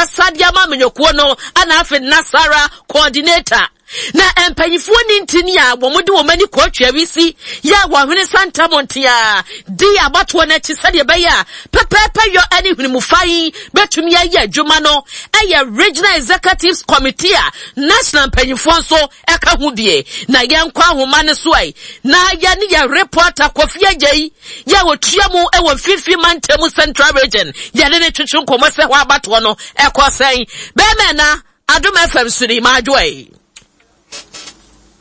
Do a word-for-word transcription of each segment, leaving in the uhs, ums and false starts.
ɔkasa de ama amanyɔkuo no ana afei Nasara coordinator. Na mpanyinfoɔ ni ntini a wɔn de wɔn ani kɔ Twawisi yɛ a wɔahwene santam ntea di abatoɔ no akyi sɛdeɛ ɛbɛyɛ a pɛpɛɛpɛ yɔ ne hwenemufa yi bɛtumi ayɛ adwuma no ɛyɛ Regional Executives Committee a national mpanyinfoɔ nso ɛka ho bie. Na yɛnkɔ ahoma no so ɛ na yɛne yɛ reporter Kofi Agyei yɛ wɔtua mu ɛwɔ Mfimfini Mantam, Central Region, yɛne ne twetwe nkɔmmɔ sɛ hɔ abatoɔ no ɛkɔ sɛn. Bɛrima na Adom F M so ni maadwoe.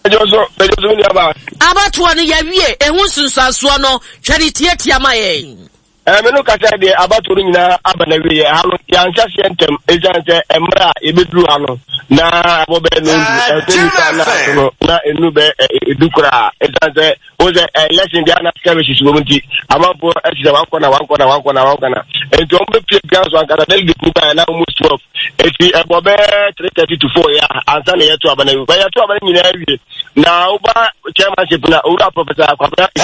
Abatoɔ no yɛwie, ehu nsunsuansoɔ no twɛre tietia ma yɛn. Ɛɛ no kasa deɛ, abatoɔ no nyinaa aba na wie. Ha no yɛanhyɛ aseɛ ntɛm ɛsiane sɛ mmerɛ a yɛbɛduru ha no na ɛbɔ bɛyɛ no ndu ɛsɛ nipa na ato no na enu bɛ edu koraa, ɛsiane sɛ wo sɛ election deɛ ana skirmishes wɔ mu, nti amanfoɔ ɛsi sɛ wankɔ na wankɔ na wankɔ na wankɔ na nti wɔn bɛ pie pia so ankasa. Delegate nipa yɛ na almost twelve, eti ɛbɔ bɛɛ three thirty to four yɛ ansa na yɛto aba na wie. Bɛyɛ to aba no nyinaa wie na woba chairmanship na Owura Professor Kwabena a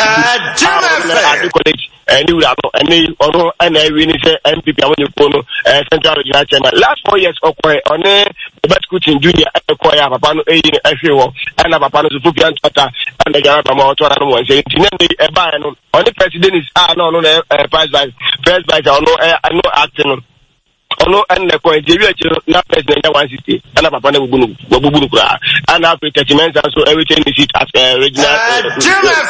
ade college ɛne wura no ɛne ɔno ɛna awie ne sɛ N P P amanyɔkuo no ɛɛ Central Regional chairman. Last four years ɔkɔɛ, ɔne Robert Kutin Junior ɛkɔɛ a papa no ɛyi no ɛhwɛ hɔ, ɛna papa no so fofia ntɔta ɛna gyara ba ma ɔtɔ na no wɔn nsɛm. Nti ne ne ɛbaeɛ no, ɔne President a na ɔno na ɛɛ first vice first vice a ɔno ɛɛ ɛno ate no, ɔno ɛna kɔ. Nti ewi akyi no na president nya one sixty, ɛna papa no abubu no, wabubu no koraa. Ɛna afei Tɛkyi Mɛnsa nso ɛretain ne seat as uh, regional uh,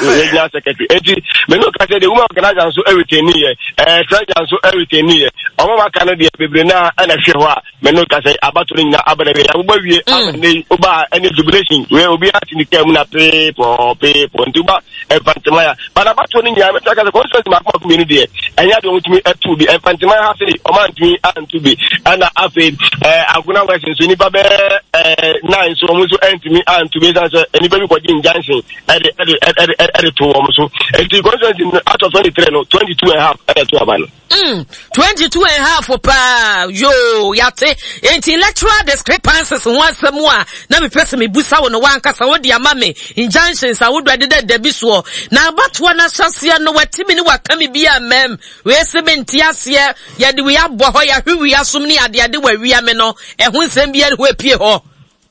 regional secretary. Eti menu kasa de, woman organizer nso ɛretain ne yɛ, ɛɛ treasurer nso ɛretain ne yɛ. Ɔmo waka no deɛ bebree naa ɛna hwɛ hɔ a menu kasa abato no nyinaa aba na wie, yabobɔ wie ama ne yi ɔba ɛne jubilation wei, obi ati ne kaa mu na peepɔ peepɔ. Nti ɔba Mfantemaya bana abato no nyinaa, mɛta kasa constituency mako mako mmienu deɛ ɛnyɛ adeɛ ɔmotumi ɛto bi. Mfantemaya ha sei ɔma ntumi anto bi, ɛna afei ɛɛ Agona West nso nipa bɛɛ ɛɛ nine nso ɔmo nso ɛntumi anto bi, ɛsan sɛ nipa bi kɔgye injunction ɛde ɛde ɛde ɛde to wɔn so. Nti constituency no, out of twenty three no, twenty two and a half ɛna ɛto aba no. Mm, twenty-two and a half paa yo yate. Nti electoral discrepancies ho asɛm a na mepɛ sɛ mebusa wo no, wankasa wode ama me. Injunctions ahodoɔ ɛdeda da bi soɔ na abatoɔ no ahyɛseɛ no, watimi ne waka me bi a mmam wei sɛ mente aseɛ, yɛde wei abɔ hɔ, yɛahwe wei asom ne adeade wawia me no, ɛho nsɛm biara ne hɔ apue hɔ?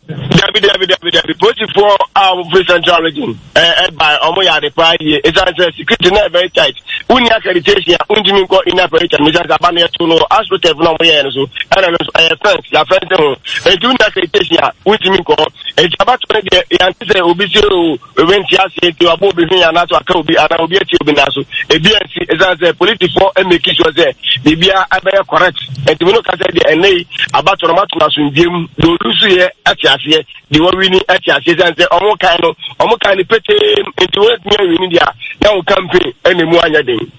Dabi, dabi, dabi, dabi. Polisifoɔ a wɔfiri Central Region ɛɛ ɛba, ɔmo yɛ ade paa yie, esan sɛ security na very tight. Wunni accreditation a, wuntumi nkɔ inner perimeter no, esan sɛ aba no yɛto no astroturf na ɔmo yɛɛ no so, ɛna no nso ɛyɛ fence, yɛ fence ho, eti wunni accreditation a, wuntumi nkɔ hɔ. Eti abato no deɛ, yɛnte sɛ obi se o obi nti aseɛ nti wabɔ obi hwene anaasɛ waka obi anaa obi akyi obi nan so. Ebi ansi, esan sɛ polisifoɔ ɛmake sure sɛ biribiara ɛbɛyɛ correct. Nti mi no kasa deɛ, ɛnɛ yi abato no mato no asomdue mu deɛ, olusu yɛ ɛte aseɛ deɛ, wɔwini ɛte aseɛ, sɛn sɛ ɔmo kan no, ɔmo kan no petee, nti wɔn atumi awini deɛ a na wɔn campaign ɛna emu anyɛ den.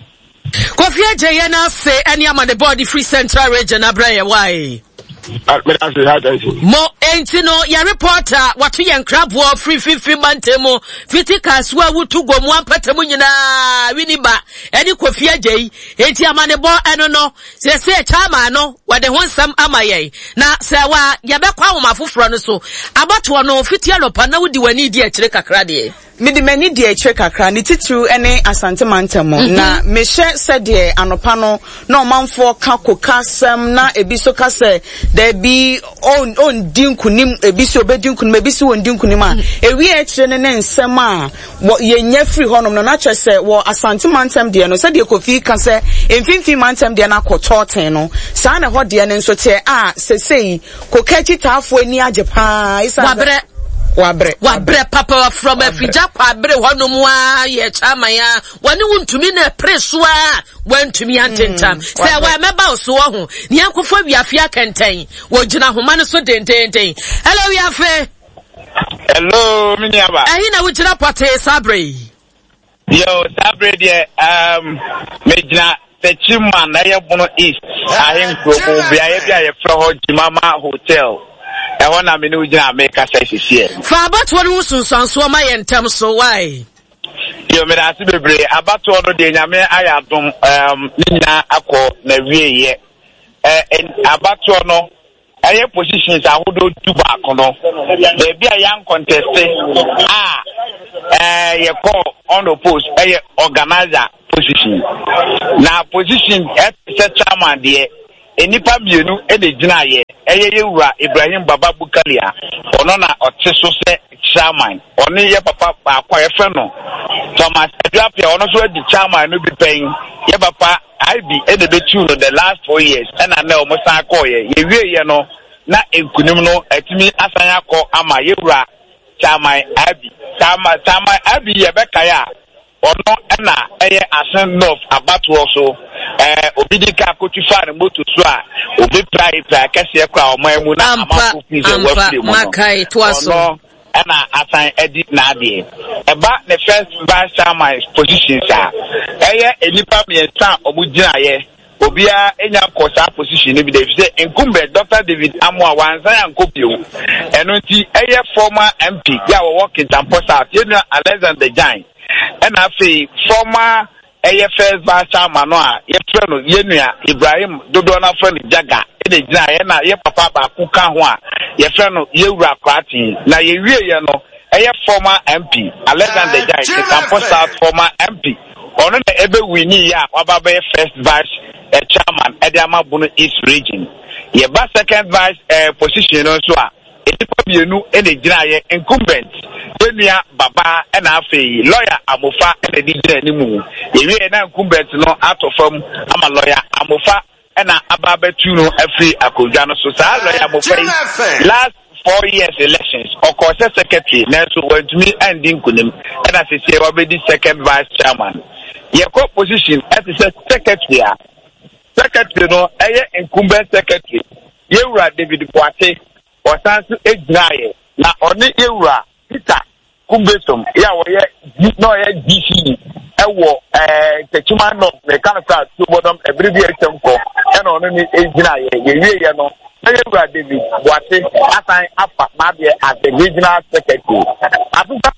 Kofi Agye, yɛ no ase ɛne ama ne bɔɔde firi Central Region abrɛ yɛ wae. Mo enti no yɛ reporter wato yɛn nkraboɔ firi Fifi mantam mu fiti Kasoa wutu gomu ampata mu nyinaa wini ba ɛne Kofi Agye yi. Enti amanebɔ ɛno no sɛsɛ chairman no wɔde ho nsɛm ama yɛn, na sɛ wa yɛbɛkɔ ahoma foforɔ no so. Abatoɔ no fiti anɔpa na wodi w'ani di akyire kakra deɛ? Mede m'ani di akyire kakra, ne titiriw ne Asante mantam mu, na mehyɛ sɛdeɛ anɔpa no na ɔmanfoɔ ka koka asɛm, na ebi so ka sɛ daabi, ɔndi nkunim, ebi so obɛdi nkunim, ebi so wɔndi nkunim a ewie akyire no ne nsɛm a wɔ yɛnya firi hɔnom no, na kyerɛ sɛ wɔ Asante mantam deɛ no, sɛdeɛ Kofi ka sɛ Mfimfini mantam deɛ no akɔ tɔɔten no, saa na ɛhɔ deɛ no nso teɛ a sesei koka akyitaafoɔ ani agye paa. Wabrɛ. Wabrɛ. Wabrɛ papa from Afigya Kwabre hɔnom a yɛ chairman a wɔne wo ntumi na ɛpere so a wɔntumi antentam sɛ wɔmɛba wo so wɔ ho ne yɛnkɔfo Wiafe Akɛntɛn, wɔgyina ahoma no so dendenden. Hello, Wiafe. Hello, me nuaba. Ɛyi na wogyina pɔtee saa berɛ yi? Yo, saa berɛ deɛ um, megyina Techiman na ɛyɛ Bono East ahenkuro mu, beaeɛ bi a yɛfrɛ hɔ Gyimama Hotel. Ɛhɔ na me ne wo gyina a mekasa sisiɛ. Fa abatoɔ no ho sunsuansoɔ ma yɛ ntɛm so wae. Yo, mede ase bebree. Abatoɔ no deɛ, Nyame ayɛ adom, um, ne nyinaa akɔ na wieɛ. Uh, abatoɔ no ɛyɛ positions ahodoɔ du baako no, beebi a yɛn contest a ɛɛ yɛkɔ unopposed ɛyɛ organizer position. Na position ɛte sɛ chairman deɛ, nnipa mmienu ɛna gyina yɛ. Ɛyɛ yɛwura Ibrahim Baba Bukali a ɔno na ɔte so sɛ chairman. Ɔne yɛ papa baako a yɛfrɛ no Thomas Aduapia, ɔno nso adi chairman no bi pɛn. Yɛ papa I B ɛna ɛbɛtu no the last four years, ɛna nɛ ɔmo san kɔɔyɛ. Yɛwie yɛ no na nkunim no atumi asan akɔ ama yɛwura Chairman I B. Chairman Chairman I B yɛbɛkae a, ɔno ɛna ɛyɛ Assin North abatoɔ so ɛɛ obi di ka akotu fa ne moto so a obi pra pra kɛseɛ kora ɔman mu na amanfo fi sɛ wafiri mu no, ɔno ɛna asan adi n'adeɛ. Ɛba ne first vice chairman positions a, ɛyɛ nnipa mmiɛnsa a wɔn gyinaeɛ, obiara enya nkɔ saa position no bi da, efisɛ incumbent Doctor David Amoa wansan ankɔ bio. Ɛno nti ɛyɛ former M P yɛ a wɔwɔ Kintampo South, yɛnua Alexander Gyan, ɛna afei former ɛyɛ first vice chairman no a yɛfrɛ no yɛnua Ibrahim, dodoɔ no afrɛ no Jaga, ɛna gyina yɛ, na yɛ papa baako ka ho a yɛfrɛ no yɛwura Koraten. Na yɛwie yɛ no, ɛyɛ former M P Alexander Gyan, Kintampo South former M P, ɔno na ɛbɛ win yɛ a waba bɛyɛ first vice uh, chairman ɛde ama Bono East Region. Yɛba second vice uh, position no nso a, nnipa mmienu ɛna gyina yɛ, incumbent yɛnua Baba, ɛna afei Lawyer Amofa ɛna de gyina anim. Yɛwie na incumbent no atɔ fam ama Lawyer Amofa, ɛna aba abɛtu no afiri akonnwa no so. Saa Lawyer Amofa yi, last four years elections ɔkɔɔ sɛ secretary, nanso wantumi andi nkunim, ɛna seesei wabɛdi second vice chairman. Yɛkɔ position ɛte sɛ secretary a, secretary no ɛyɛ incumbent secretary yɛwura David Boate, ɔsan so gyinaeɛ, na ɔne yɛwura Peter Kumbesom yɛ a wɔyɛ na ɔyɛ D C ɛwɔ ɛɛ Techiman North, mɛka no sɛ Tuobodom ɛbere bi a ɛtwam kɔ, ɛna ɔno ne gyinaeɛ. Yɛwie yɛ no na yɛwura David Boate asan afa n'adeɛ as the regional secretary asesa.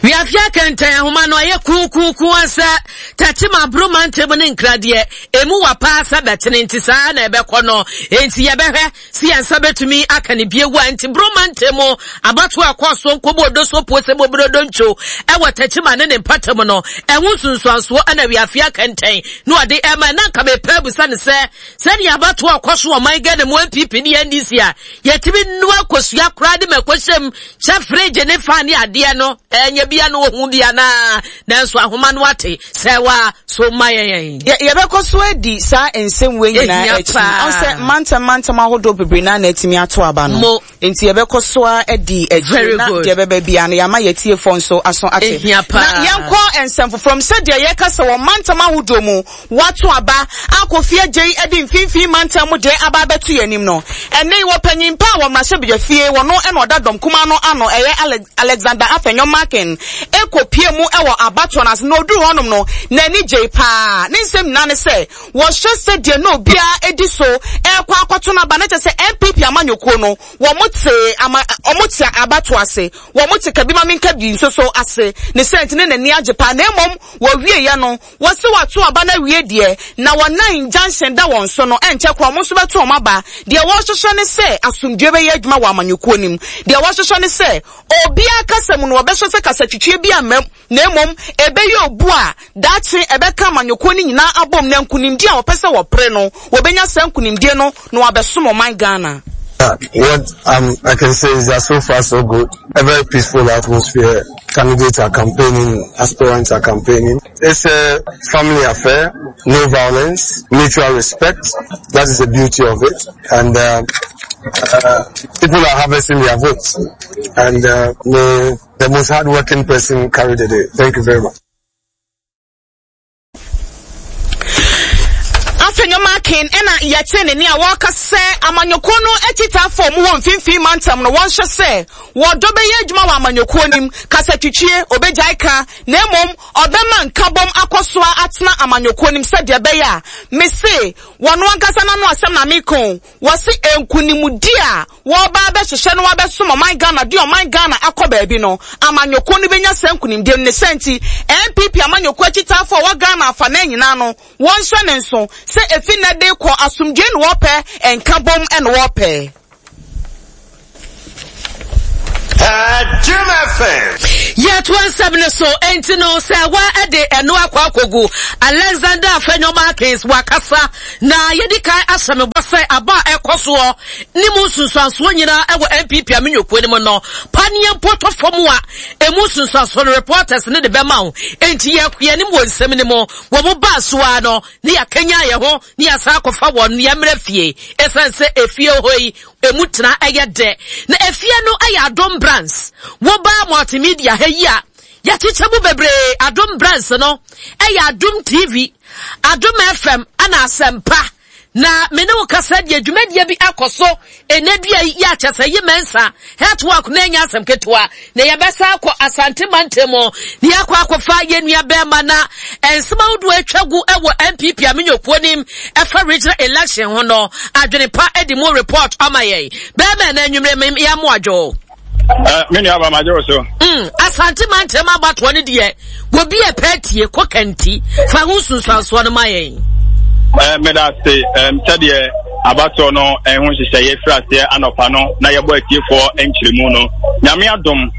Wiafia Kɛntɛn ahoma no ayɛ kuukuuku sɛ Tɛkyima aboroma ntɛm ne nkradeɛ emu wa paa sɛ bɛtene, nti saa na ɛbɛkɔ no. Enti yɛbɛhwɛ si yɛn nsa bɛtumi aka ne bie wa. Nti boroma ntɛm abato a ɛkɔ so nkɔbɔ odo so puo sɛ bɔburo ntwo ɛwɔ Tɛkyima ne ne mpatam no, ɛho nsunsuansoɔ ɛna Wiafia Kɛntɛn na ɔde ɛma. Na nka mepɛ abusa ne sɛ, sɛdeɛ abato a ɛkɔ so ɔman Ghana mu, N P P ne N D C a yɛtumi nua kosua koraa de ma ɛkɔhyɛm hyɛ fridge ne fa ne adeɛ no, ɛnyɛ bia no ohun bia naa, nanso ahoma no ate sɛ wa so ma yɛn. Yɛbɛkɔ so adi saa nsɛm wei nyinaa akyi. Ɔn sɛ mantam mantam ahodoɔ bebree naa na atumi ato aba no, nti yɛbɛkɔ so a adi akyire na deɛ bɛbɛ bia no yɛama yɛtiefoɔ nso aso ate. Na yɛnkɔ nsɛm foforɔ mu. Sɛdeɛ yɛka sɛ wɔ mantam ahodoɔ mu wato aba akɔ agye de mfimfini mantam mu deɛ aba abɛto yɛn anim no, ɛne wɔ panyin pa a wɔ mmarahyɛbadwa fie, wɔno ɛna ɔda dɔm kuma no ano, ɛyɛ Alexander Afenyo Markin, ekɔ mu ɛwɔ abatoɔ no ase. Na oduru hɔnom no, n'ani gye paa. Ne nsɛm nyinaa ne sɛ wɔhyɛ sɛdeɛ na obiara edi so ɛkɔ akɔto n'aba, ne kyɛ sɛ N P P amanyɔkuo no, wɔn te ama wɔn te abato ase, wɔn te kabi ma minka bi nso so ase ne sɛnti ne n'ani agye paa. Na emom wɔwie yɛ no, wɔsi wɔato aba no awie deɛ, na wɔnan injunction da wɔn so no, ɛnkyɛ korɔ wɔn nso bɛto wɔn aba. Deɛ wɔrehyehyɛ ne sɛ asomdwe bɛyɛ adwuma wɔ amanyɔkuo no mu. Deɛ wɔrehyehyɛ ne sɛ obiara kasa mu no, wɔbɛhyɛ sɛ kasatwitwie bi ama mu, na mmom ɛbɛyɛ obu a daakye ɛbɛka amanyɔkuo no nyinaa abom, na nkunimdie a wɔpɛ sɛ wɔpere no, wɔbɛnya saa nkunimdie no na wɔabɛsom ɔman Ghana. Uh, what um, I can say is that so far so good. A very peaceful atmosphere. Candidates are campaigning, aspirants are campaigning. It's a family affair, no violence, mutual respect. That is the beauty of it. And uh, uh, people are harvesting their votes. And uh, may the most hardworking person carry the day. Thank you very much. Afenyo Markin ɛna yɛte ne ne a wɔreka sɛ amanyɔkuo no akyitafoɔ mu wɔ mfimfini mantam no, wɔnhyɛ sɛ wɔdɔ bɛyɛ adwuma wɔ amanyɔkuo nim, kasatwitwie obɛgyae ka, na mmom ɔbɛma nkabom akɔ so atena amanyɔkuo nim, sɛdeɛ ɛbɛyɛ a mese wɔno ankasa n'ano asɛm na meko wɔsi nkunimdi a wɔba abɛhyehyɛ no, wɔabɛsom ɔman Ghana de ɔman Ghana akɔ baabi no, amanyɔkuo no bɛnya saa nkunimdie no. Ne sɛ nti N P P amanyɔkuo akyitafoɔ a wɔ Ghana afa na nyinaa no, wɔnhyɛ ne nso sɛ efi nnɛ de kɔ, asomdwe na wɔpɛ, nkabom na wɔpɛ. Jim F M. Yɛtoa nsɛm no so, enti no sɛ wa de ɛno akɔ akɔgu Alexander Afenyo Markins wakasa na yɛdi kan ahyɛ me bɔ sɛ aba a ɛkɔ soɔ ne mu nsunsuansoɔ nyinaa ɛwɔ N P P amenyokuo no mu no, paneɛ mpo tɔ fam a emu nsunsuansoɔ no reporters ne de bɛma wo. Enti yɛkɔ anim wɔ nsɛm no mu. Wɔn mo baa so ara no ne yɛakanya yɛn ho ne yɛasan akɔfa wɔn yɛmmerɛ fie, ɛsiane sɛ efie hɔ yi emu tena ɛyɛ dɛ. Na efie no ɛyɛ Adom Brands. Wobaa multimedia ha yi a yɛakyekyɛ mu bebree. Adom Brands no ɛyɛ Adom T V, Adom F M ɛna Asɛmpa. Na me ne wo kasa deɛ, dwumadie bi akɔ so ɛnɛ dua yi yɛ akyɛ sɛ yi mɛnsa health work na ɛnyɛ asɛm ketewa. Na yɛbɛsa akɔ Asante mantam mu na yɛakɔ akɔfa yɛn nua bɛrima na nsɛm ahodoɔ atwa gu ɛwɔ N P P amenyokuo nim ɛfa regional election ho no, adwene pa de mu report ama yɛn. Bɛrima, na anwummerɛ yɛn mo adwo. Me nua ba, magye wo so. Mm, Asante mantam abatoɔ no deɛ, wobi yɛ pɛ tie kɔ kanti fa ho nsunsuansoɔ no ma yɛn. Meda ase. Sɛdeɛ abatoɔ no ɛho nhyehyɛeɛ firi aseɛ anɔpa no na yɛbɔ atiefoɔ nkyerɛmu no, Nyame adom,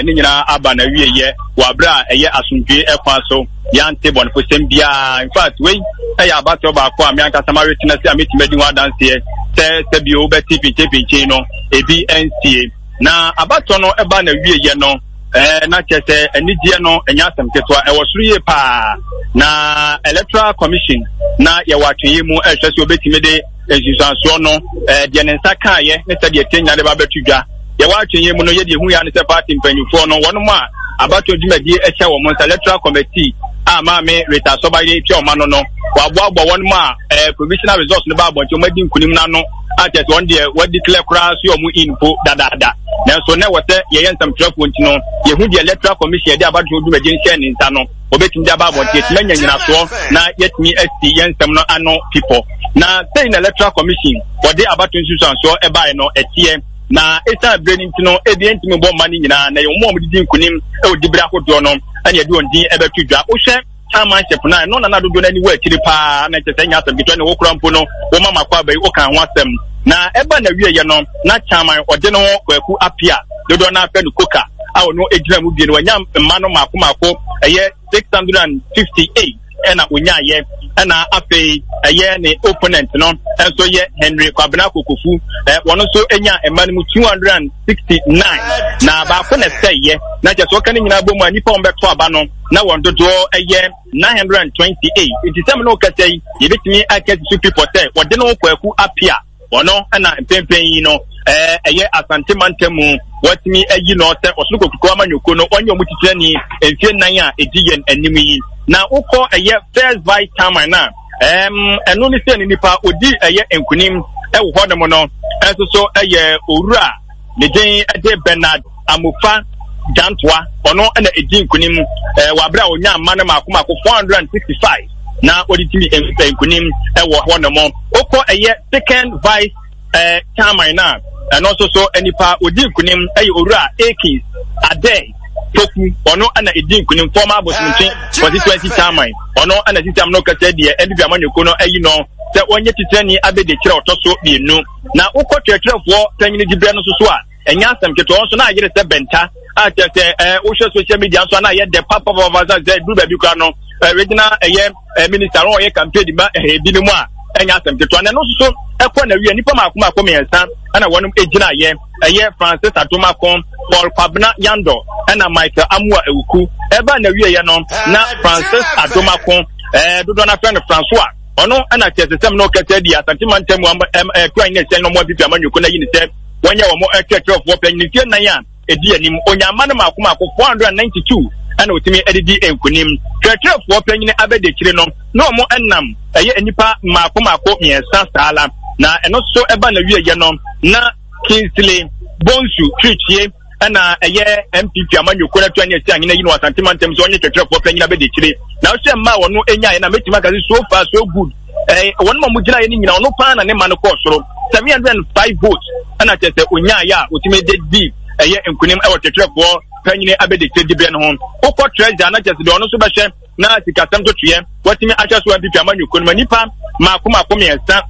ne nyinaa aba na wieyɛ wɔ aberɛ a ɛyɛ asomdwie ɛkwan so, yɛante bɔnefosɛm biara. In fact, wei ɛyɛ abatoɔ baako a me ankasa maretena se a mɛtumi adi ho adanseɛ sɛ sɛbio wobɛte pinkyenpinkyen no ebi nsie. Na abatoɔ no ɛba na wieyɛ no, ɛɛ na kyerɛ sɛ anigyeɛ no ɛnyɛ asɛm ketewa, ɛwɔ soro yie paa. Na Electoral Commission na yɛwɔ atwɛnyɛ mu ɛhwɛ sɛ obɛtumi de nsusuansoɔ no, ɛɛ deɛ ne nsa kaayɛ ne sɛdeɛ tie nyina de ba bɛto dwa. Yɛwɔ atwɛnyɛ mu no, yɛdeɛ ehu ya ne sɛ party mpanyinfoɔ no, wɔn a abatoɔ dwumadie ɛhyɛ wɔn nsa, electoral committee a Maame Rita Sɔbayere tua wɔn ano no, wɔaboaboa wɔn a ɛɛ provisional results no ba abɔnten, wɔn adi nkunim n'ano a kyerɛ sɛ wɔn deɛ wɔadi clear koraa so yɛ wɔn in po dadaada. Nanso na ɛwɔ sɛ yɛyɛ nsɛmtwerɛfoɔ nti no, yɛhu deɛ Electoral Commission yɛde abatoɔ dwumadie no hyɛ ne nsa no wɔbɛtumi de aba abɔnten, yɛtumi anya nyinasoɔ na yɛtumi asi yɛn nsɛm no ano pipɔ. Na sɛyi na Electoral Commission wɔde abato nsusuansoɔ ɛbaeɛ no ɛteɛ. Na ɛsiane berɛ no nti no, ebi ntumi bɔ mma no nyinaa, na yɛn mu a wɔdedi nkunim ɛwɔ dibere ahodoɔ no ɛna yɛde wɔn din ɛbɛto dwa. Wohwɛ chairmanship na ɛno nana dodoɔ no ani wɔ akyiri paa, na kyerɛ sɛ ɛnyɛ asɛm ketewa ne wokora mpo no wɔma mako aba yi woka ho asɛm. Na ɛba na wieɛ no, na chairman ɔde no ho Kwaku Apia, dodoɔ no afɛ no Koka, a ɔno gyina mu bie no, wanya mma no mako mako ɛyɛ six hundred and fifty eight ɛna onyaayɛ. Ɛna afei ɛyɛ ne opponent no nso yɛ Henry Kwabena Kokofu, ɛ wɔn nso nya mma no mu two hundred and sixty nine, na baako na ɛsɛeɛ. Na kyerɛ sɛ wɔka ne nyinaa bɔ mu a, nipa wɔn bɛto aba no na wɔn dodoɔ ɛyɛ nine hundred and twenty eight. Nti sɛm no kasa yi, yɛbɛtumi aka so pipɔ sɛ wɔde no Kwaku Apia, ɔno ɛna mpɛmpɛn yi no ɛɛ ɛyɛ Asante mantam mu wɔtumi ayi no sɛ ɔsoro kokuroko amanyɔkuo no ɔnyɛ ɔmo titirani mfie nnan a ɛdi yɛn anim yi. Na wokɔ ɛyɛ first vice chairman na ɛɛm ɛno ne sɛ ne nipa odi ɛyɛ nkunim ɛwɔ hɔnom no ɛnso so ɛyɛ owura ne din ɛde Bernard Amofa Gyantoa. Ɔno ɛna edi nkunim ɛɛ wɔ abere a onya ama no mako mako four hundred and sixty five na wɔde tumi nkunim ɛwɔ hɔnom. Wokɔ ɛyɛ second vice ɛɛ chairman na ɛno nso so nipa odi nkunim ɛyɛ owura Akins Ade Toku. Ɔno ɛna edi nkunim, former Bosomtwe constituency chairman. Ɔno ɛna sisi am no kasa deɛ N P P amanyɔkuo no ayi no sɛ wɔnyɛ titirani abɛdi kyerɛ ɔtɔ so mmienu. Na wokɔ twerɛtwerɛfoɔ panyin dibrɛ no nso so a, ɛnyɛ asɛm ketewa nso na ayere sɛ bɛnta a kyerɛ sɛ ɛɛ wohwɛ social media nso a na ayɛ dɛ papapapa sɛ sɛ duru baabi koraa no, ɛɛ regional ɛyɛ ɛɛ minister no ɔyɛ campaign ma ɛɛ ebinom a ɛnyɛ asɛm ketewa. Na ɛno nso so ɛkɔ na wie, nipa mako mako mmiɛnsa ɛna wɔn gyina yɛ, ɛyɛ Francis Adomako, Paul Kwabena Yando ɛna Michael Amua Ewuku. Ɛba na wie yɛ no, na Francis Adomako, ɛɛ dodoɔ n'afɛ no Francois, ɔno ɛna kyerɛ sɛ sɛm no kɛsɛ di Asante mantam mu ɛɛ kura nyɛ sɛn no mo N P P amanyɔkuo na yi ne sɛ wɔnyɛ wɔn ɛkyerɛkyerɛfoɔ panyin mfie nnan a ɛdi anim. Onyama no mako mako four hundred and ninety two ɛna otumi ɛdidi nkunim. Twerɛtwerɛfoɔ panyin abɛdi akyire no na wɔn ɛnam ɛyɛ nipa mako mako mmiɛnsa saa la. Na ɛno nso ɛba na wie yɛ no, na Kingsley Bonsu Twitwie ɛna ɛyɛ N P P amanyɔkuo no atu ne asi ahene yi no Asante mantam sɛ ɔnyɛ twerɛtwerɛfoɔ panyin abɛdi akyire. Na ɔhyɛ mmaa a wɔn anya na mɛtumi aka sɛ so far so good. Ɛɛ wɔn a wɔgyina yɛ no nyinaa, ɔno paa na ne ma no kɔɔ soro, seven hundred and five votes ɛna kyerɛ sɛ onyaayɛ a otumi de di ɛyɛ nkunim ɛwɔ twerɛtwerɛfoɔ panyin abɛdi akyire dibrɛ no ho. Wokɔ treasurer na kyerɛ sɛ deɛ ɔno nso bɛhwɛ na sikasɛm to toyɛ wɔtumi ahyɛ so N P P amanyɔkuo no ma nipa mako mako mmiɛnsa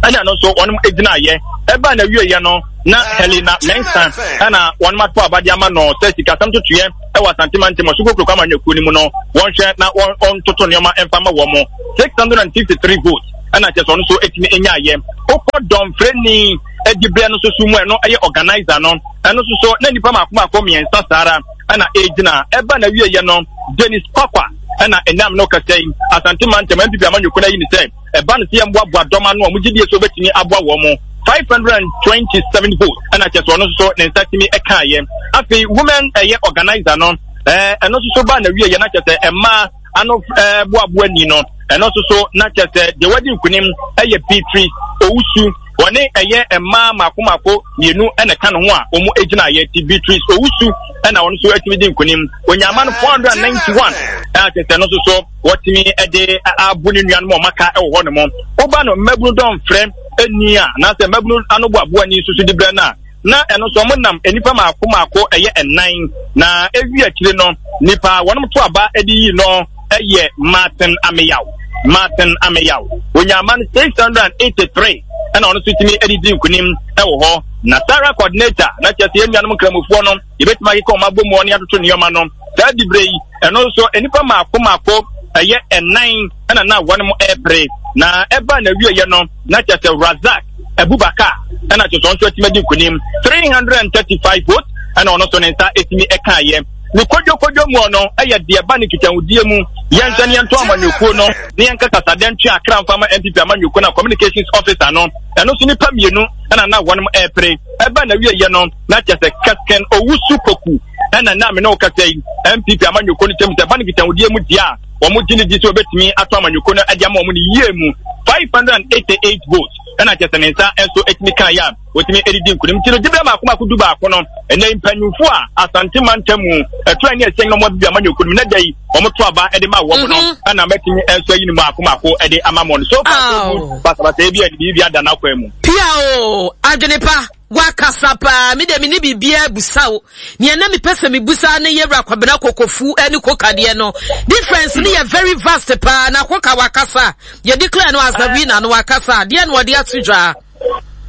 ɛna no nso wɔn gyina yɛ. Ɛba na wie yɛ no, na Helena Mensah ɛna wɔn ato aba de ama no sɛ sikasɛm totoeɛ ɛwɔ Asante mantam ɔso kokuroko amanyɔkuo no mu no wɔnhwɛ na wɔntoto nneɛma mfa ma wɔn six hundred and fifty three votes ɛna kyerɛ sɛ ɔno nso ɛtumi nyaayɛ. Wokɔ dɔmfrɛni adiberɛ no nso so mu ɛno ɛyɛ organizer no ɛno nso so na nnipa mako mako mmiɛnsa saa ara ɛna ɛgyina ɛba na wieɛ no Dennis Kwakwa ɛna ɛnam no kasa yi Asante mantam N P P amanyɔkuo no ayi ne sɛ ɛba no sɛ yɛmboaboa dɔm ano a wɔn gyidie so wɔbɛtumi aboa wɔn mo five hundred and twenty seven votes ɛna kyerɛ sɛ ɔno nso so ne nsa tumi ɛkaeɛ. Afei women ɛyɛ organizer no ɛɛ ɛno nso so ba na wieɛ na kyerɛ sɛ mmaa ano ɛɛ boaboa ni no ɛno nso so na kyerɛ sɛ deɛ wadi nkunim ɛyɛ Beatrice Owusu wɔne ɛyɛ mmaa mako mako mmienu ɛna ɛka ne ho a wɔn gyina yɛ ti Beatrice Owusu ɛna wɔn nso atumi di nkunim onyama no four hundred and ninety one ɛna kyerɛ sɛ ɛno nso so wɔtumi ɛde abo ne nuanom a wɔaka ɛwɔ hɔ nom. Woba no mmabunu dɔnfrɛ ɛni a anaasɛ mmabunu ano boaboa ni nso so di brɛ no a na ɛno nso wɔn nam nnipa mako mako ɛyɛ ɛnan na ewi akyire no nipa wɔn to aba ɛde yi no ɛyɛ Martin Ameyaw Martin Ameyaw onyama no six hundred and eighty three ɛna ɔno nso tumi ɛde di nkunim ɛwɔ hɔ. Na Sarah coordinator na kyerɛ sɛ yɛn nuanom nkramofoɔ no yɛbɛtumi akeka wɔn abɔ mu ne atoto nneɛma no saa dibere yi ɛno nso nnipa mako mako ɛyɛ ɛnan ɛna na wɔn mo ɛpere na ɛba na wieɛ no na kyerɛ sɛ Razak Abubakar ɛna kyerɛ sɛ ɔno nso atumi adi nkunim three hundred and thirty five votes ɛna ɔno nso ne nsa ɛtumi ɛkaeɛ. Ne kodwokodwo mu no ɛyɛ deɛ ba ne nkitahodie mu yɛnhwɛ ne yɛnto amanyɔkuo no ne yɛnka kasadɛ ntwe akra mfa ma N P P amanyɔkuo no communications officer no ɛno nso nipa mmienu ɛna na wɔn ɛpere ɛba na wieɛ no na kyerɛ sɛ Kesken Owusu Poku ɛna na me ne wo kasa yi N P P amanyɔkuo no kyɛm sɛ ba ne nkitahodie mu deɛ a wɔn gye ne di sɛ wɔbɛtumi ato amanyɔkuo no de ama wɔn no yie mu five hundred and eighty eight votes ɛna kyerɛ sɛ ne nsa nso ɛtumi kan yɛ a wɔtumi ɛdidi nkunim nti no gyebere mako mako du baako no ɛnɛ mpanyinfo a Asante mantam mu ɛto ɛne ɛsɛn na wɔn abibi amanyɔkuo no mu na da yi wɔn to aba ɛde ma wɔn no ɛna mɛtumi nso ayi ne mako mako ɛde ama wɔn so far so good basabasa ebi a biribi ada n'akwan mu. Pia o adwene pa wakasa paa mi de mi ni biribiara busa o nea na mepɛ sɛ mebusa ne yɛwura Kwabena Kokofu ne kokadeɛ no difference ne yɛ very vast paa na koka wakasa yɛ declare no as a winner no wakasa deɛ na ɔde ato dwa.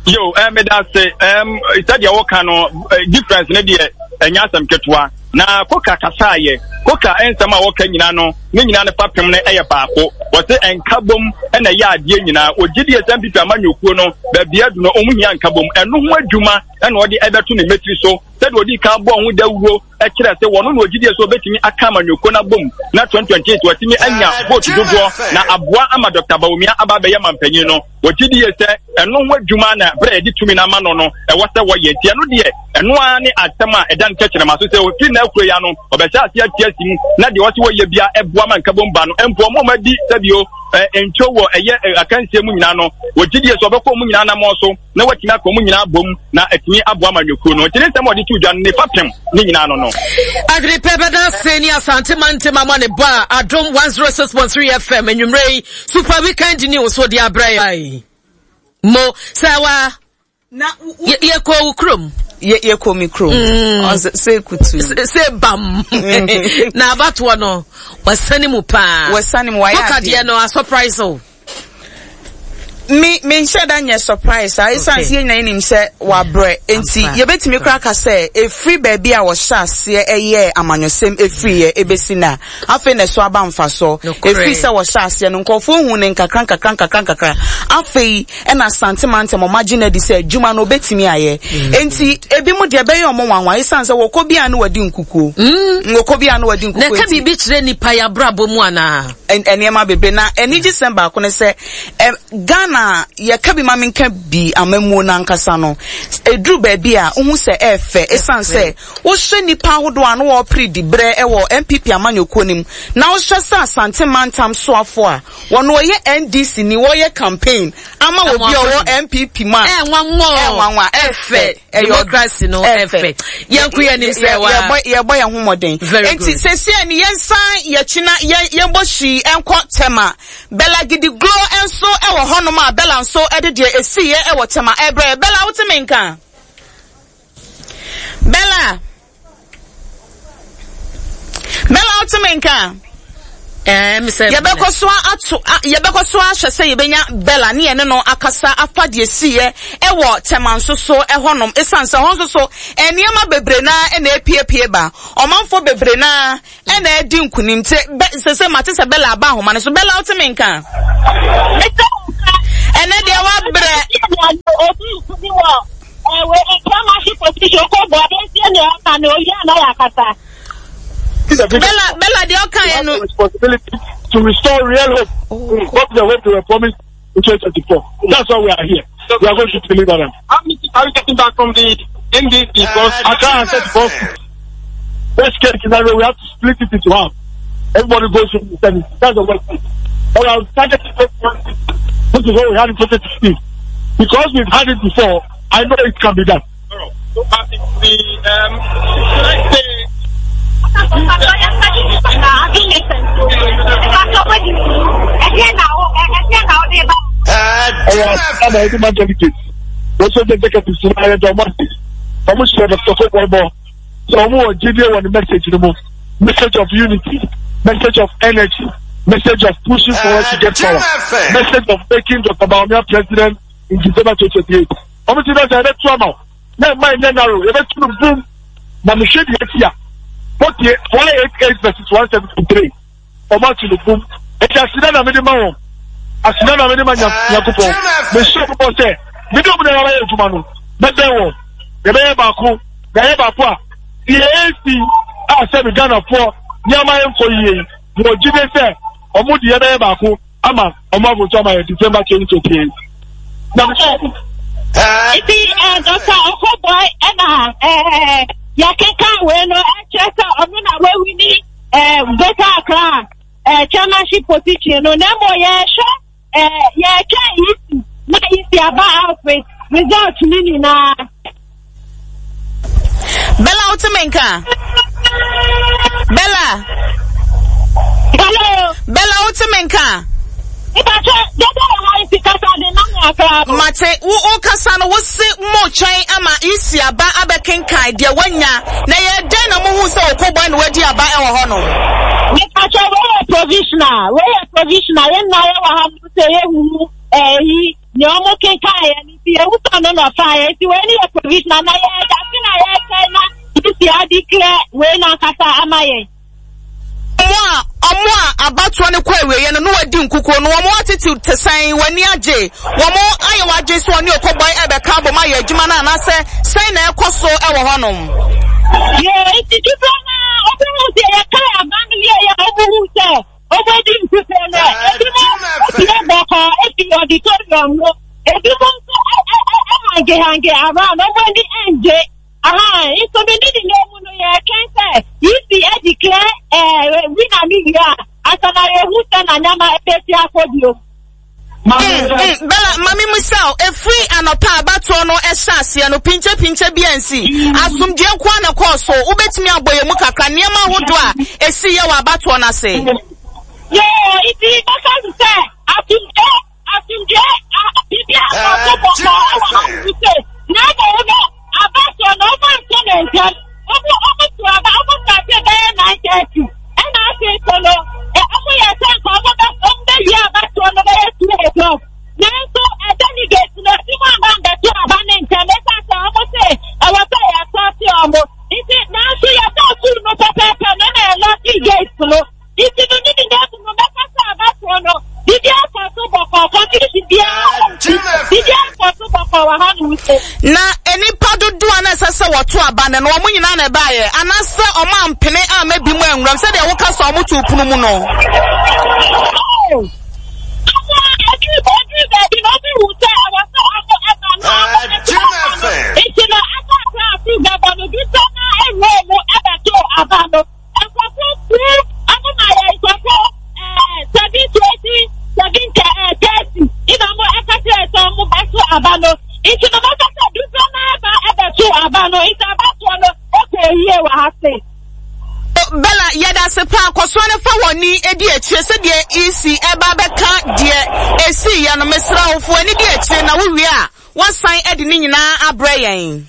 Yo, eh, me da se, um, sɛdeɛ woka no, difference ne deɛ ɛnyɛ asɛm ketewa. Na koka kasaayɛ, koka nsɛm a wɔka nyinaa no, ne nyinaa no fapem no ɛyɛ baako. Wɔse nkabom ɛna ɛyɛ adeɛ nyinaa. Wɔgye die sɛ N P P amanyɔkuo no, baabi adu no, wɔn hia nkabom. Ɛno ho adwuma ɛna ɔde ɛbɛto ne mmetiri so. Sɛdeɛ ɔdi kan bɔɔ ho dawuro ɛkyerɛ sɛ wɔn na ɔgye die sɛ ɔbɛtumi aka amanyɔkuo no abom na twenty twenty eight wɔatumi anya vote dodoɔ na aboa ama Doctor Bawumia aba abɛyɛ mampanyin no. Wɔgye die sɛ ɛno ho adwuma na berɛ a yɛde tumi no ama no no ɛwɔ sɛ wɔyɛ. Nti ɛno deɛ ɛno ara ne asɛm a ɛda no tɛkyerɛma so sɛ ɔfiri n'akuro yi ano ɔbɛhyɛ ase ate asi mu na deɛ ɔse wɔyɛ bia ɛboa ma nkabom ba no mpo ɔmo ɔmo adi sɛbio ntwo wɔ ɛyɛ akansie mu nyinaa no wɔgye die sɛ ɔbɛkɔ ɔmo nyinaa namɔ so na watumi aka ɔmo nyinaa bom na atumi aboa ma nnwokuo no. Nti ne nsɛm a ɔde to dwa no ne fapem ne nyinaa no no. Agripe bɛda ase ne Asante Mantam ama ne ba Adom one oh six point three F M anwummerɛ yi Super Weekend News so de abrɛ yɛ. Mo sɛ wa yɛkɔ wo kurom. Yɛkɔ mi kurom. Sɛ kutu. Sɛ bam. Na abatoɔ no wasane mu paa. Wasane mu wayɛ adeɛ. Woka deɛ no a surprise o. Me me nhyɛ da nyɛ surprise a esan sɛ yɛn nyinaa nim sɛ wabrɛ nti yɛbɛtumi koraa ka sɛ efiri baabi a wɔhyɛ aseɛ ɛyɛ amanyɔsɛm efiri yɛ ebesi na afei na ɛso aba mfasoɔ efiri sɛ wɔhyɛ aseɛ no nkurɔfoɔ hu ne nkakra nkakra nkakra nkakra afei ɛna Asante mantam ɔmo agye n'adi sɛ adwuma no obetumi ayɛ nti ebi mu deɛ ɛbɛyɛ ɔmo nwanwa esan sɛ wɔkɔ bi a no wɔdi nkukuo wɔkɔ bi a no wɔdi nkukuo na ɛka biribi kyerɛ nipa yɛ abrabɔ mu anaa nneɛma bebree na anigye sɛm baako ne sɛ Ghana yɛka bi ma menka bi amammuo no ankasa no ɛduru baabi a wohu sɛ ɛɛfɛ ɛsiane sɛ wohwɛ nnipa ahodoɔ a na wɔpere di berɛ ɛwɔ N P P amanyɔkuo no mu na wohwɛ sɛ Asante mantam soafoɔ a wɔno ɔyɛ N D C ni wɔyɛ campaign ama obi a ɔwɔ N P P mu a ɛnwanwa ɛɛfɛ democracy no ɛfɛ yɛnko yɛn nim sɛ wa yɛbɔ yɛn ho mmɔden nti sɛsi ni yɛnsan yɛkyi na yɛnbɔ hwii ɛnkɔ Tema Bella Gidiglo nso ɛwɔ hɔnom a Bella nso ɛde deɛ esiiɛ ɛwɔ Tema ɛbrɛ Bella wote me nka Bella Bella wote me nka Yɛbɛkɔ so ato yɛbɛkɔ so ahwɛ sɛ yɛbɛnya Bella ne yɛne no akasa afa deɛ siiɛ ɛwɔ Tema nso so ɛhɔnom. Esiane sɛ hɔ nso so nneɛma bebree naa ɛna epiepie ba. Ɔmanfoɔ bebree naa ɛna ɛdi nkunim. Te bɛ sɛ sɛ mate sɛ Bella aba ahoma no so. Bella, wote me nka? Ɛnɛ deɛ wabrɛ. Obi bi wɔ ɛwɛ chairmanship position kɔ bɔ adansie na ɛka na oyi ana yɛ akasa. Bella, Bella, deɛ ɔka yɛ no. Responsibility to restore real hope. Oh. What the hope they were promised in twenty twenty-four. That's why we are here. We are going to deliver them. How many are you getting back from the N D C? Because I can't answer the worst case scenario, we have to split it into half. Everybody goes to the seventy. That's the worst case. But our target is, which is what we had in twenty sixteen. Because we've had it before, I know it can be done. So, uh, the, um, should I say, Ɛyɛ ama ɛde ma delegates wɔsɔ de executives no ayɛ dɛ ɔmo ase ɔmo hyɛ Doctor Kobɔbɔ sɛ ɔmo wɔ gyidie wɔ ne message no mu, message of unity, message of energy, message of pushing forward to get power, message of making Doctor Bawumia president in December twenty twenty-eight. Ɔmo ti dɛ sɛ ɛbɛtu ama wo na ɛma ɛnyɛ narrow, yɛbɛtu no boom na mehwɛ deɛ eti a forty one eight eight versus one seventy three, ɔmo atu no boom. Eti aseda na mede ma wɔn, aseda na mede ma Nyankopɔn. Mehyɛ ɔmo bɔ sɛ mede ɔmo nyinaa bɛyɛ adwuma no, mɛbɛn wɔn, yɛbɛyɛ baako na yɛyɛ baako a deɛ esi a sɛ mi Ghanafoɔ nneɛma yɛ nkɔ yie yi, wɔ gyide sɛ ɔmo de yɛbɛyɛ baako ama ɔmo avoto ama yɛ December twenty twenty eight na mehyɛ. Nti Doctor Okoe Boye ɛna yɛkeka wei no ɛkyerɛ sɛ ɔno na wawin Greater Accra chairmanship position no, na mmom yɛhwɛ yɛtwɛn E C na E C aba out with result no nyinaa. Bella, wote me nka? Bella. Hello. Bella, wote me nka? Ìbàjẹ́ dédé wà láì fi kasa de náà akra. Mate, wo wo kasa no, wo se mo twɛn ama E C aba abɛkenkan deɛ wanya na yɛ dɛn na mohu sɛ Okoe Boye na wadi aba ɛwɔ hɔ no? Ìbàjẹ́ wọ́n yɛ provisional, wọ́n yɛ provisional, yɛn nyinaa yɛ wɔ ha mo sɛ yɛhuhu ɛyi nea ɔmo kenkan yɛ no, nti ewu sɔ no na ɔfa yɛ, nti wei ni yɛ provisional na yɛ yase na yɛkyɛn na E C adeclare wei n'ankasa ama yɛn. Ɔmo a ɔmo a abatoɔ no kɔ awieɛ no na wadi nkukuo no, wɔn atete te sɛn? W'ani agye? Wɔn ayɛ w'adwene sɛ wɔne Okoe Boye ɛbɛka abom ayɛ adwuma no anaasɛ sɛn na ɛkɔ so ɛwɔ hɔnom? Yɛ nti dodoɔ na ɔmo hu sɛ yɛka aba no wie yɛ, ɔmo hu sɛ ɔmo di nkukuo no, ebi mo epie bɔkɔɔ efi auditorium no, ebi mo nso ɛ ɛ ɛ ɛhang hang around, ɔmo ani ɛngye aha. Nso mi ne nyinaa mu no, yɛtwɛn sɛ E C ɛdeclare ɛɛ winner no wie a asana yɛhu sɛ na nyama ebesi akɔ bio. Mm, mm, Bella, mami musa o, efiri anɔpa abatoɔ no ɛhyɛ aseɛ no, pinkyɛ pinkyɛ bi ansi. Asomdue nko ara na ɛkɔɔ so. Wobɛtumi abɔ yɛn mu kakra nneɛma ahodoɔ a esi yɛ wɔ abatoɔ no ase? Yoo, nti bɛka sɛ asomdue asomdue biribi a akɔ bɔkɔɔ ɛwɔ ha nom sɛ na mmom no abatoɔ no ɔmo anto ne ntɛm. Ɔmo ɔmo to aba, ɔmo start bɛyɛ nine thirty, ɛna afei so no ɛ ɔmo yɛ sɛ nka ɔmo bɛ ɔmo bɛwie abatoɔ no bɛyɛ two o'clock, nanso ɛ delegate no ebi mo aba mbɛto aba ne ntɛm, esan sɛ ɔmo sɛ ɛwɔ sɛ yɛsɔɔte ɔmo nti. Nanso yɛbɔ two no pɛpɛɛpɛ no na yɛlock gate no, nti no ne nyinaa mu no, mɛka sɛ abatoɔ no biribi akɔ so bɔkɔɔ, confusion biara, biribi akɔ so bɔkɔɔ wɔ ha no nso. Na nipa dodoɔ a na ɛsɛ sɛ wɔto aba no no, wɔn nyinaa na ɛbaeɛ anaasɛ wɔn ampene amma bi mu anwuram sɛdeɛ woka sɛ wɔn to pono mu no? Ɔmo a ɛduru ɛduru baabi na ɔmo hu sɛ ɛwɔ sɛ ɔmo ɛba no, ɔmo ɛto aba no, nti no ɛba akora afi bɛbɔ no dodoɔ na ɛwura mu ɛbɛto aba no, nkurɔfoɔ puu ɔmo ma yɛ nkurɔfoɔ ɛɛ seven twenty, seven thirty ɛna ɔmo ɛka kyerɛ sɛ ɔmo bɛto aba no, nti no mɛka sɛ dodoɔ na ɛba ɛbɛto aba no, nti abatoɔ no ɛkɔ yie wɔ ha se. Bella, yɛda ase paa. Kɔsoa no fa wɔn ni edi akyire sɛdeɛ E C ɛba bɛka deɛ esi yɛ no. Mesrɛ wo, fo ani di akyire na wowie a wɔsan ɛde ne nyinaa abrɛ yɛn.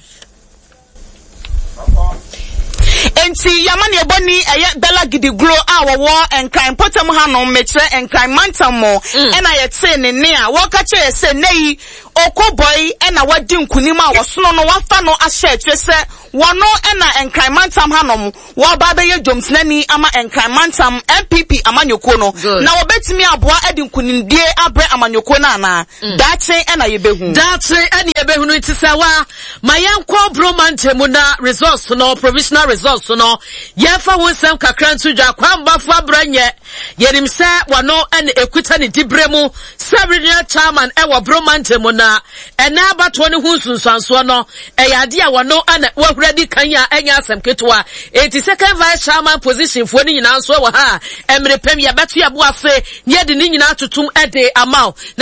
Enti y'amanneɛbɔni ɛyɛ Bella Gidiglo a wɔwɔ Nkran mpɔtam hanom, mekyerɛ Nkran mantam mu, ɛna yɛtee ne nne a wɔreka kyerɛ yɛ sɛ nnɛ yi Okoboi na wadi nkunim a wɔsono no wɔafa no ahyɛ akyire sɛ wɔno na Nkran mantam hanom wɔreba abɛyɛ dwomtenani ama Nkran mantam N P P amanyɔkuo no. Na wɔbɛtumi aboa de nkunimdie abrɛ amanyɔkuo no anaa? Daakye na yɛbɛhu. Daakye na yɛbɛhunu. Nti sɛ wa ma yɛnkɔ Broma nkyɛmu na results no, provisional results no, yɛmfa ho nsɛm kakra nto dwa. Kwambafo abrɛ nyɛ yɛnim sɛ wɔno na ekuta ne diberɛ mu sɛ regional chairman ɛwɔ Broma nkyɛmu, na ɛnɛ abatoɔ no ho nsunsuansoɔ no ɛyɛ adeɛ a wɔno na wahura di kan a ɛnyɛ asɛm ketewa. Enti second vice chairman position foɔ no nyinaa nso wɔ ha a mmerɛ pɛm yɛbɛto yɛbo ase na yɛde ne nyinaa totom de ama wo.